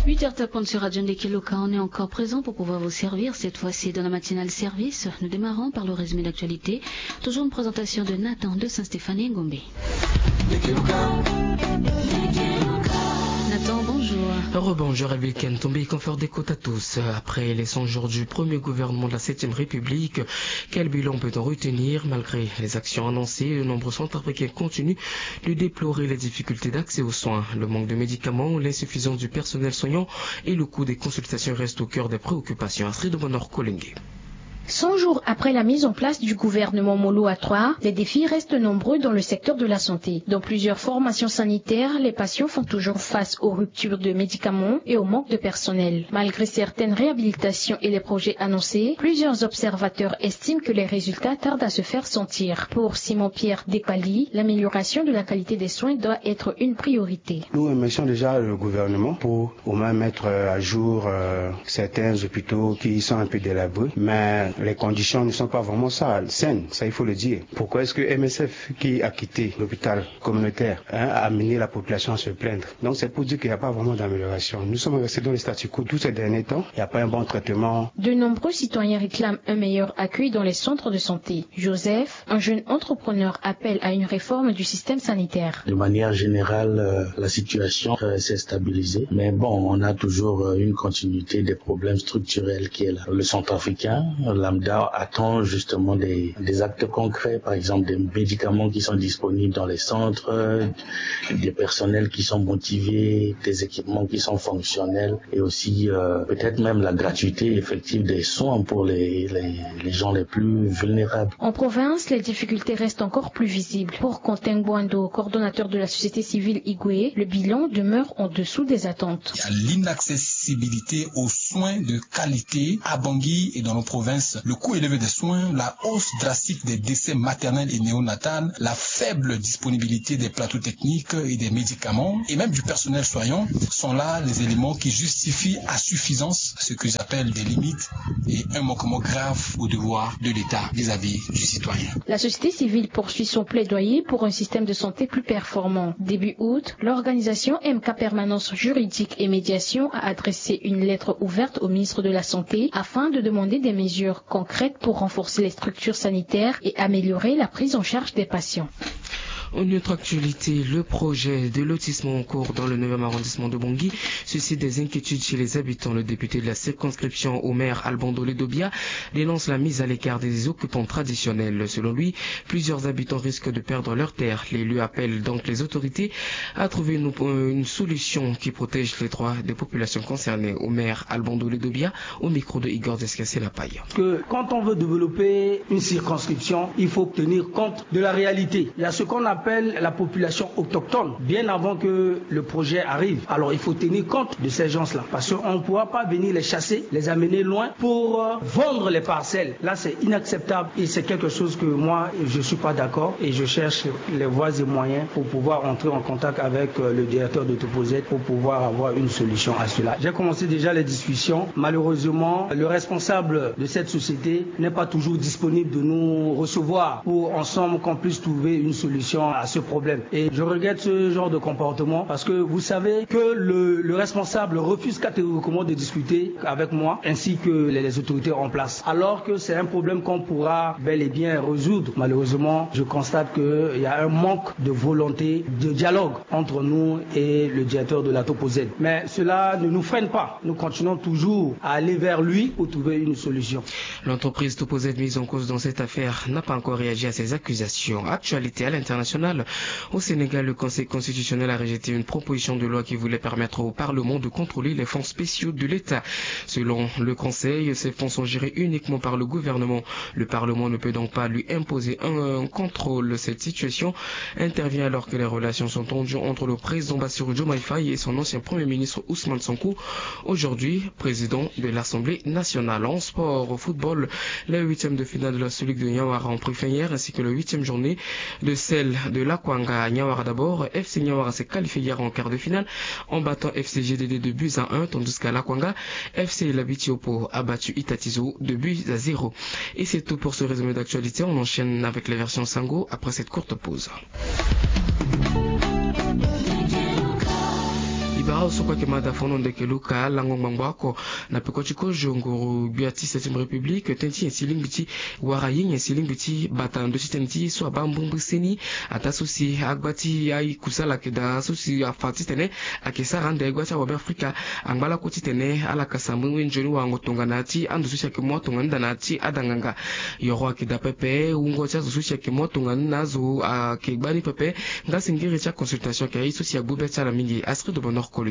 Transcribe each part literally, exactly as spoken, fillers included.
Huit heures tapant sur Radio Ndeke Loka, on est encore présent pour pouvoir vous servir, cette fois-ci dans la matinale service. Nous démarrons par le résumé d'actualité. Toujours une présentation de Nathan de Saint-Stéphane et Ngombe. Nathan, bonjour. Rebonjour, Elvil Ken Tombi, confort d'écoute à tous. Après les cent jours du premier gouvernement de la septième République, quel bilan peut-on retenir ? Malgré les actions annoncées, de nombreux centrafricains continuent de déplorer les difficultés d'accès aux soins. Le manque de médicaments, l'insuffisance du personnel soignant et le coût des consultations restent au cœur des préoccupations. Astrid Bonor Kolenge. Cent jours après la mise en place du gouvernement Molo à trois, les défis restent nombreux dans le secteur de la santé. Dans plusieurs formations sanitaires, les patients font toujours face aux ruptures de médicaments et au manque de personnel. Malgré certaines réhabilitations et les projets annoncés, plusieurs observateurs estiment que les résultats tardent à se faire sentir. Pour Simon-Pierre Depali, l'amélioration de la qualité des soins doit être une priorité. Nous remercions déjà le gouvernement pour au moins mettre à jour, euh, certains hôpitaux qui sont un peu délabrés, mais les conditions ne sont pas vraiment ça, saines, ça il faut le dire. Pourquoi est-ce que M S F, qui a quitté l'hôpital communautaire, hein, a amené la population à se plaindre ? Donc c'est pour dire qu'il n'y a pas vraiment d'amélioration. Nous sommes restés dans le statu quo tous ces derniers temps. Il n'y a pas un bon traitement. De nombreux citoyens réclament un meilleur accueil dans les centres de santé. Joseph, un jeune entrepreneur, appelle à une réforme du système sanitaire. De manière générale, euh, la situation, euh, s'est stabilisée. Mais bon, on a toujours, euh, une continuité des problèmes structurels qui est là. Le centrafricain lambda attend justement des, des actes concrets, par exemple des médicaments qui sont disponibles dans les centres, euh, des personnels qui sont motivés, des équipements qui sont fonctionnels et aussi, euh, peut-être même la gratuité effective des soins pour les, les, les gens les plus vulnérables. En province, les difficultés restent encore plus visibles. Pour Quentin Boando, coordonnateur de la société civile Igwe, le bilan demeure en dessous des attentes. Il y a l'inaccessibilité aux soins de qualité à Bangui et dans nos provinces. Le coût élevé des soins, la hausse drastique des décès maternels et néonatals, la faible disponibilité des plateaux techniques et des médicaments, et même du personnel soignant, sont là les éléments qui justifient à suffisance ce que j'appelle des limites et un manquement grave au devoir de l'État vis-à-vis du citoyen. La société civile poursuit son plaidoyer pour un système de santé plus performant. Début août, l'organisation M K Permanence Juridique et Médiation a adressé une lettre ouverte au ministre de la Santé afin de demander des mesures concrètes pour renforcer les structures sanitaires et améliorer la prise en charge des patients. En autre actualité, le projet de lotissement en cours dans le neuvième arrondissement de Bangui suscite des inquiétudes chez les habitants. Le député de la circonscription, Omer Albandole Dobia, dénonce la mise à l'écart des occupants traditionnels. Selon lui, plusieurs habitants risquent de perdre leurs terres. L'élu appelle donc les autorités à trouver une, une solution qui protège les droits des populations concernées. Omer Albandole Dobia au micro de Igor Descassé-Lapaille. Que quand on veut développer une circonscription, il faut tenir compte de la réalité. Il y a ce qu'on appelle la population autochtone, bien avant que le projet arrive. Alors il faut tenir compte de ces gens-là, parce qu'on ne pourra pas venir les chasser, les amener loin pour, euh, vendre les parcelles. Là, c'est inacceptable et c'est quelque chose que moi, je suis pas d'accord et je cherche les voies et moyens pour pouvoir entrer en contact avec, euh, le directeur de Toposet pour pouvoir avoir une solution à cela. J'ai commencé déjà les discussions. Malheureusement, le responsable de cette société n'est pas toujours disponible de nous recevoir pour ensemble qu'on puisse trouver une solution à ce problème. Et je regrette ce genre de comportement parce que vous savez que le, le responsable refuse catégoriquement de discuter avec moi ainsi que les, les autorités en place. Alors que c'est un problème qu'on pourra bel et bien résoudre. Malheureusement, je constate qu'il y a un manque de volonté de dialogue entre nous et le directeur de la Toposet. Mais cela ne nous freine pas. Nous continuons toujours à aller vers lui pour trouver une solution. L'entreprise Toposet mise en cause dans cette affaire n'a pas encore réagi à ces accusations. Actualité à l'international, au Sénégal, le Conseil constitutionnel a rejeté une proposition de loi qui voulait permettre au Parlement de contrôler les fonds spéciaux de l'État. Selon le Conseil, ces fonds sont gérés uniquement par le gouvernement. Le Parlement ne peut donc pas lui imposer un contrôle. Cette situation intervient alors que les relations sont tendues entre le président Bassirou Diomaye Faye et son ancien premier ministre Ousmane Sonko, aujourd'hui président de l'Assemblée nationale. En sport, au football, les huitièmes de finale de la Super League de Niawara ont pris fin hier, ainsi que la huitième journée de celle de l'Akwanga. Niawara d'abord, F C Niawara s'est qualifié hier en quart de finale en battant F C G D D de buts à un, tandis qu'à l'Akwanga, F C Labitiopo a battu Itatizo de buts à zéro. Et c'est tout pour ce résumé d'actualité. On enchaîne avec les versions Sango après cette courte pause. Aosoko ayeke mada fono ndeke luka lango ngbangbo oko na peko ti kozo nguru gbia ti septième république tënë ti nyen si lingbi ti wara ye nyen si lingbi ti bata na ndö ti tënë ti ye so abaa mbrimbri seni. Ataa so si agba ti aye kusala ayeke daa so si afa titene ayeke sara ande gba ti awabe afrika angba lakue titene ala kasa mbrimbri nzoni warango tongana ti ando so si ayeke mu atongana nda na ya ti adanganga. Yoro ayeke daa pepe wungo ti azo so si ayeke mu atongana nda na azo ayeke gba ni pepe. Nga singiri ti aconsultation ayeke aye so si agbu be ti ala mingi. Astrid bonor kolenge.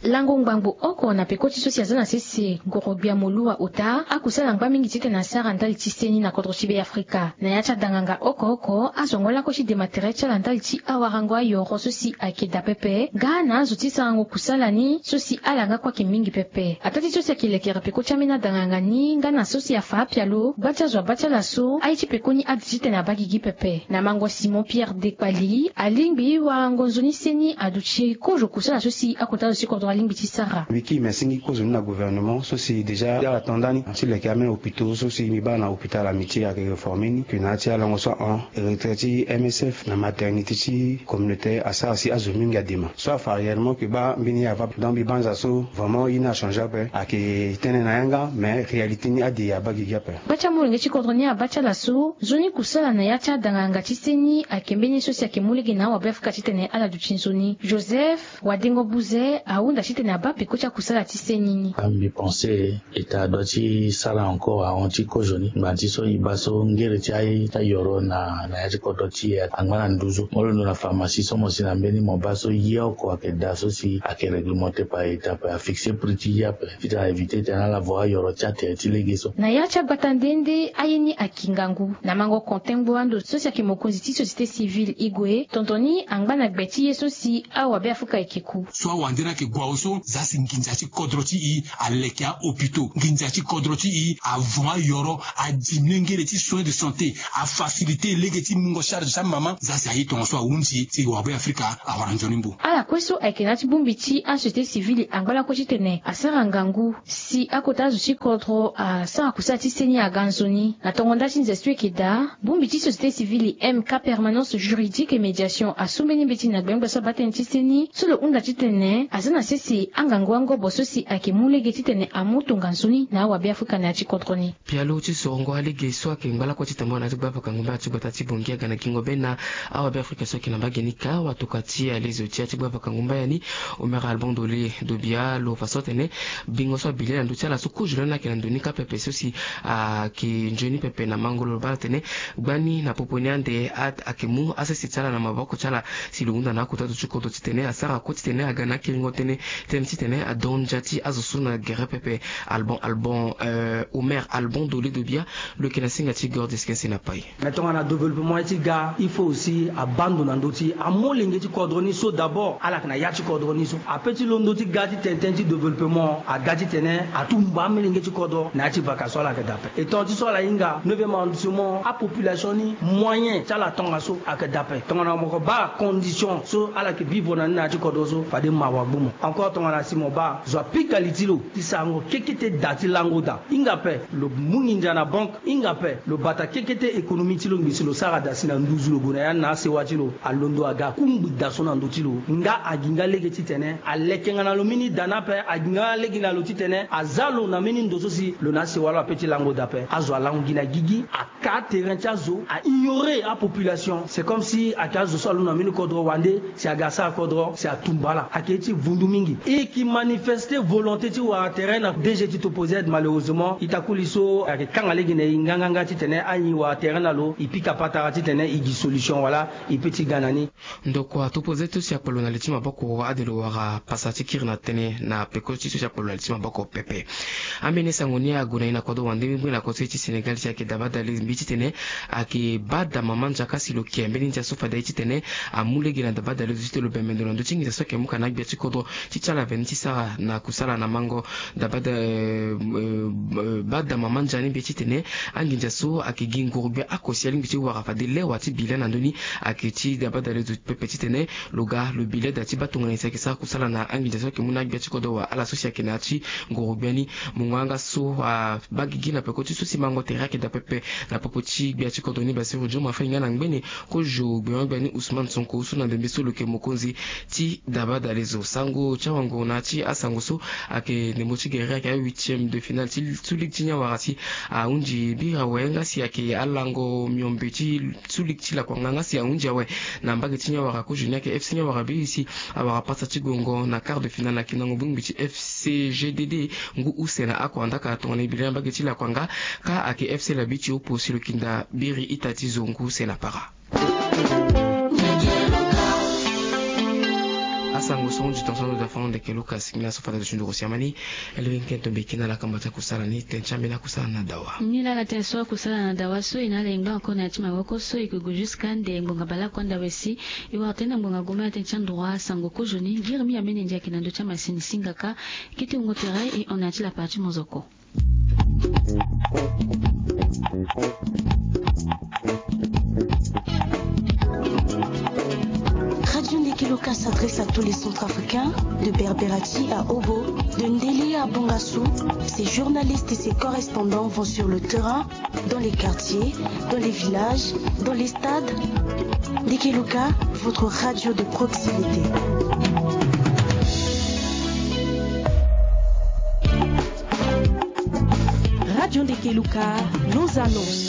Lango ngbangbo oko na peko ti so si aza na sese ngoro gbia molua ota akusala ngba mingi titene asara ndali ti seni na kodro ti be afrika na ya ti adanganga oko oko azongo lakue ti dematere ti ala ndali ti awarango ayoro so si ayeke daa pepe nga na azo ti sarango kusala ni so si ala nga kue ayeke mingi pepe ataa ti so si ayeke lekere peko ti ambeni adanganga ni nga na so si afa apialo gba ti azo abaa ti ala so aye ti pekoni ade titene abaa gigi pepe na mango simon pierre dekpali alingbi warango nzoni seni aduti kozo kusala so si akota azo ti kodro alingbi ti sara. Wiki me singi kozo ni na gouvernement so si déjà ala tanda ni ti leke ambeni hôpitaux so si mbi baa na hôpital amitié ayeke réformé ni ke na ya ti alango so ahon retrait ti msf na maternité ti communauté asara si azo mingi adema so afa réellement ke baa mbeni ye ava donc mbi banza so vraiment ye ni achangé ape ayeke tene na yanga mais réalité ni ade abaa gigi ape. Gba ti amolenge ti kodro ni abaa ti ala so nzoni kusala na ya ti adanganga ti seni ayeke mbeni ye so si ayeke mu lege na awabe afrika titene ala duti nzoni joseph wadengo buze ahunda titene abaa peko ti akusala ti seni ni. Mbi pense état adoit ti sara encore ahon ti kozo ni ngbanga ti so e baa so ngere ti aye ti ayoro na na ya ti kodro ti e angba na nduzu mo londo na pharmacie so mo si na mbeni mo baa so ye oko ayeke daa so si ayeke réglementé par état ape afixe prix ti ye ape titene a évité titene ala vo ayoro ti atere ti lege so. Na ya ti agbata nde nde aye ni ayeke ngangu na mango konte ngbo ando so si ayeke mokonzi ti société civile igue tonton ni angba na gbe ti ye so si awabe afrika ayeke ku. So awande ni ayeke gue awe so za si nginza ti kodro ti e aleke ahôpitaux nginza ti kodro ti e avon ayoro adimine ngere ti soin de santé afacilité lege ti mungo charge ti amama za si aye tongaso ahunzi si wabe afrika awara nzoni mbu. Ala kue so ayeke na ya ti bongbi ti asociété civile angba lakue titene asara ngangu si akota azo ti kodro asara kusala ti seni aga nzoni na tongo nda ti nze so eke daa bongbi ti société civile mk permanence juridique et médiation asu mbeni mbeti na gbengbe so abaa tënë ti seni so lo hunda titene aza na sese angangu angobo so si ayeke mu lege titene amu tonga nzoni na awabe afrika na ya ti kodro ni. Pialo ti sorongo alege so ayeke ngba lakue ti tambula na ya ti gba paka ngumba ya ti gbata ti bongi aga na gingo be na awabe afrika so ayeke na mbage ni ka watokua ti alezo ti ya ti gba paka ngumba ya ni. Omer albon dole dobia lo fa so atene bingo so abi le na ndö ti ala so kozo lani ayeke na ndö ni ka pepe so si ayeke nzoni pepe na mango lo baa atene gbani na popo ni ande ayeke mu asese ti ala na maboko ti ala si lo hunda na akota zo ti kodro titene asara kue titene aga na akerengo tënë tënë titene adon ndia ti azo so na gere pepe. Albon albon omer albon dole dobia lo yeke na singa ti gordis kense na pai. Mais tongana développement ye ti ga il faut aussi abando na ndö ti amolenge ti kodro ni so d'abord ala yeke na ya ti kodro ni so ape ti londo ti ga ti tene tënë ti développement aga titene atumba amolenge ti kodro na ya ti vaka so ala yeke dape. Etant ti so ala hinga neuvième arrondissement apopulation ni moyen ti ala tongaso ayeke dape tongana moko baa condition so ala yeke vivre na ni na ya ti kodro so fade mawa gbu mo. Encore tongana si mo baa zo apika li ti lo ti sarango kekete da ti lango da hinga ape lo mu nginza na banque hinga ape lo bata kekete économie ti lo ngbi si lo sara da si na nduzu lo gue na ya na asewa ti lo alondo aga akungbi da so na ndö ti lo nga agi nga lege titene aleke nga na lo mbeni da ni ape agi nga lege na lo titene aza lo na mbeni ndo so si lo na asewa lo ape ti lango da ape azo alango gi na gigi aka terrain ti azo a ignorer apopulation c'est comme si ayeke azo so alondo na mbeni kodro wande si aga asara kodro si atumba ala ayeke ye ti vundu mingi e yeke manifester volonté ti wara terrain na dg ti topoz malheureusement e takuli so ayeke kanga lege na e nganganga titene anyi wara terrain na lo e pika patara titene e gi solution wala e pe ti ga na ni. Ndokua topoz ti so si akpalo na li ti maboko ade lo wara pasa ti kiri na tënë na peko ti so si akpalo na li ti maboko pepe. Ambeni sango ni ague na e na kodro wande mbeni na kodro ti sénégal si ayeke daba dale mbi titene ayeke baa da mama ndia kasi lo ke mbeni ndia so fade aye titene amu lege na daba dale zo titene lo bembe ndo na ndö ti nginza so ayeke mu ka na agbia ti kodro ti ti ala veni ti sara na kusala na mango. Daba da baa da mama ndia ni mbi ye titene anginza so ayeke gi nguru gbia oko si alingbi ti wara fade lewa ti bi lani na ndö ni ayeke ti daba dale zo pepe titene lo ga lo bi leda ti baa tongana nyen si ayeke sara kusala na anginza so ayeke mu na agbia ti kodro wa ala so si ayeke na ya ti nguru gbia ni. Mungo yanga so abaa gigi na peko ti so si mango tere ayeke daa pepe na popo ti gbia ti kodro ni basiru dio mo afa e nga na ngbene kozo gbengo-gbia ni ousmane sonko so na ndembe so lo yeke mokonzi ti daba dale zo sango. Ti awango na ya ti asango so ayeke ndembo ti gere ayeke ahuitième de finale ti tulik ti ni awara si ahunzi biri awe nga si ayeke alango miombe ti tulik ti lakuanga nga si ahunzi awe na mbage ti ni awara kozo ni ayeke FC ni awara biri si awara pasa ti gongo na quart de finale na kinango bongbi ti FC GDD ngu use na akua ndaka tongana e bi lani na mbage ti lakuanga. Kâ ayeke FC labi ti opo si lo kinda biri ita ti zo ngu use na para. Asango so ahunzi tongaso ando da fango ndeke Luka singila so fade ndo si ndoro siama ni. Elenge kento mbi kina la kamba ti akusala ni ten ti ambeni akusala na dawa. Ni la la ten so akusala na dawa so e na ala engba encore na ya ti mawoko so e ke gue jusqu'à nde ngbonga baleoko anda wesi. E wara tënë na ngbonga goma ya ten ti androit asango kozo ni ngiri mi ambeni ndia ayeke na ndö ti amasini singaka. Kete wungo tere e hon na ya ti lapara ti mozoko. Radio Ndeke Luka s'adresse à tous les Centrafricains, de Berberati à Obo, de Ndélé à Bongassou. Ses journalistes et ses correspondants vont sur le terrain, dans les quartiers, dans les villages, dans les stades. Ndeke Luka, votre radio de proximité. Radio Ndeke Luka, nos annonces.